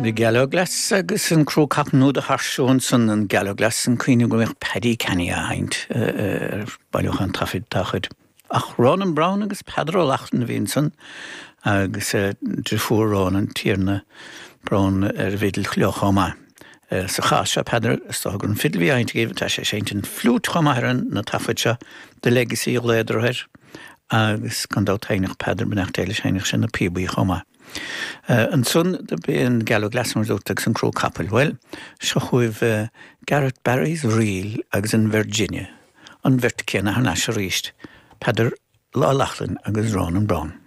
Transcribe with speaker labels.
Speaker 1: An Gallowglass agus an Cró Capaill nó do thairseó ansan an Gallowglass, an cuimhin go mbíodh Paddy Canny á sheinnt ar bailiúchán taifid dá chuid. Ach Ronan Browne agus Peadar Ó Lochlainn a bhí ansan agus driofúr Ronan, Tiarna Browne ar an bhfidil leo chomh maith. Sa chás seo Peadar, is dócha gur an fidil a bhí á sheinnt aige, tá sé ag seinnt an fliúit chomh maith ar na taifid seo, The Legacy a ghlaodar air, agus gan dabht sheinneadh Peadar, beannacht Dé leis, sheinneadh sé na píobaí chomh maith. Ansan do b'é an Gallowglass mar a dúrt agus an Cró Capaill. Bhuel, seo chugaibh Garrett Barry's Reel agus an Virginia, an bheirt céanna thar n-ais arís, Peadar Ó Lochlainn agus Ronan Browne.